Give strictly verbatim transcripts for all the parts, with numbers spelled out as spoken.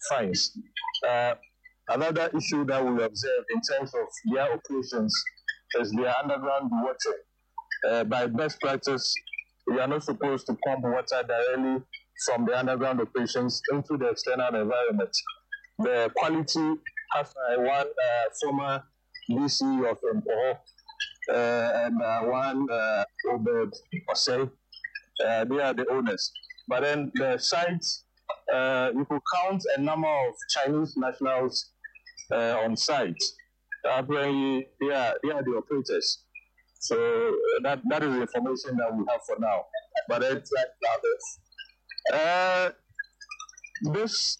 fines. Uh, another issue that we observe in terms of their operations is their underground water. Uh, by best practice, we are not supposed to pump water directly from the underground operations into the external environment. The quality has uh, one uh, former DC of Mpoho uh, and uh, one uh, Obed Osei. Uh, they are the owners. But then the site, uh, you could count a number of Chinese nationals uh, on site. Apparently, they are, they are the operators. So uh, that, that is the information that we have for now. But it's uh, this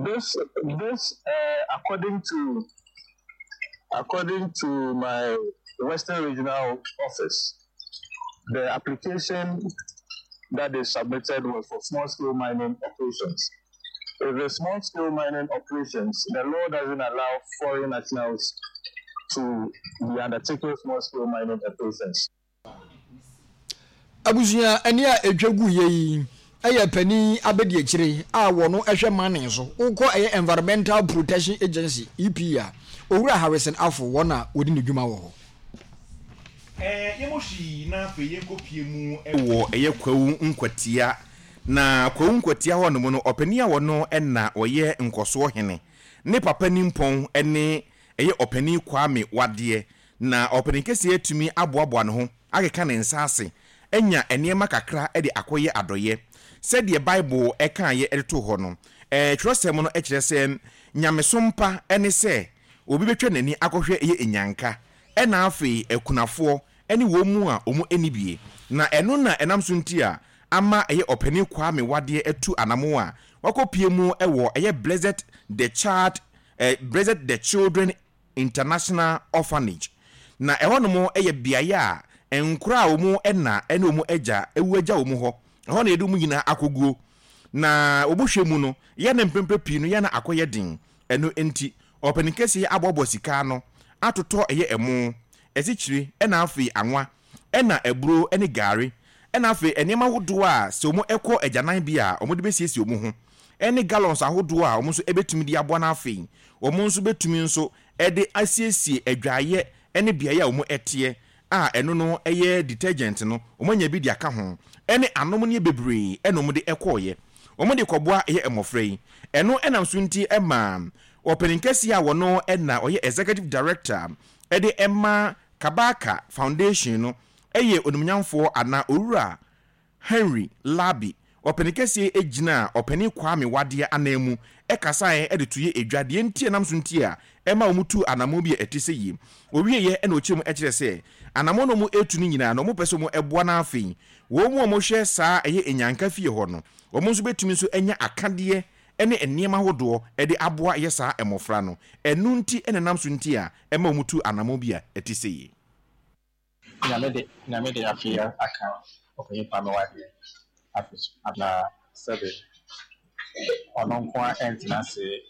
this this uh, according to according to my Western Regional Office, the application that they submitted was for small scale mining operations. If the small scale mining operations, the law doesn't allow foreign nationals to be undertaking small scale mining operations. abusua ɛne a etwa gu yɛ yi ɛyɛ panin abɛdi a wɔn ɛhwɛ mining so wokɔ ɛyɛ environmental protection agency epa owura harrison afo wɔn a wɔdi ne dwuma wɔ hɔ. ɛɛ yɛmɔ hwii na afei yɛnkɔ mu ɛwɔ ɛyɛ kwawu nkwatia na kwawu nkwatia hɔ nom no ɔpanin a wɔno ɛna ɔyɛ nkɔsoɔ hene ne papa nimpɔn ɛne ɛyɛ ɔpanin kwame wadeɛ na ɔpanin kɛseɛ atumi aboaboa ne ho akeka ne nsa ase anya nneɛma kakra de akɔyɛ adɔyɛ sɛdeɛ bible ɛkaeɛ de to hɔ no ɛɛ twerɛsɛm no kyerɛ sɛ nyamesom pa ne sɛ obi bɛtwa n'ani akɔhwɛ ɛyɛ enyanka ɛna afei akunafoɔ ɛne wɔn mu a wɔn ani bie na ɛno na ɛnam so nti a ama ɛyɛ ɔpanin kwame wadeɛ atu anamo a wakɔpie mu ɛwɔ ɛyɛ blessed the child ɛɛ blessed the children international orphanage na ɛhɔ nom ɛyɛ beaeɛ a nkora a wɔn ɛna ɛne wɔn agya ewu agya wɔn hɔ ɛhɔ na yɛde wɔn nyinaa akɔguo na wɔn hwɛ mu no yɛ ne mpempɛ pii no yɛ na akɔyɛ den ɛno nti ɔpanin kɛseɛ aboaboa sika no atotɔ ɛyɛ ɛmo ɛsikyire ɛna afei anwa ɛna aburo ɛne gaari ɛna afei nneɛma ahodoɔ a sɛ wɔn ɛkɔ agyanan bi a wɔn de bɛsiesie wɔn ho ɛne gallons ahodoɔ a wɔn nso ɛbɛtumi de aboa no afei wɔn nso bɛtumi nso ɛde asiesie adwaeɛ ɛne beaeɛ a wɔn ɛteɛ a ɛno no ɛyɛ detergent no wɔn anya bi de aka ho ɛne anom ne bebree ɛna wɔn de ɛkɔɔyɛ wɔn de kɔboa ɛyɛ mmɔfra yi ɛno ɛnam so nti ɛma ɔpanin kɛseɛ a wɔno ɛna ɔyɛ executive director ɛde ɛma kabaka foundation no ɛyɛ onimnyamfoɔ anaa owura henry labi ɔpanin kɛseɛ gyina ɔpanin kwame wadeɛ anan mu ɛkasaeɛ ɛde to yɛ edwa deɛ nti ɛnam so nti a ɛma wɔn tu anamɔ bi a ɛte sɛ yie owieɛ ɛna ɔkyerɛ mu ɛkyerɛ sɛ anamɔ no wɔn etu no nyinaa na wɔn pɛ sɛ wɔn ɛboa n'afei wɔn mu a wɔhwɛ saa ɛyɛ enyanka fie hɔ no wɔn nso bɛtumi nso anya akadeɛ ɛne nneɛma ahodoɔ ɛde aboa yɛ saa mmɔfra no ɛnu nti ɛna nam so nti a ɛma wɔn tu anamɔ bi a ɛte sɛ yie. nyame de nyame de afei aka ɔpanyin kwame wadeɛ afe so na sɛbe ɔno nko a ɛntena ase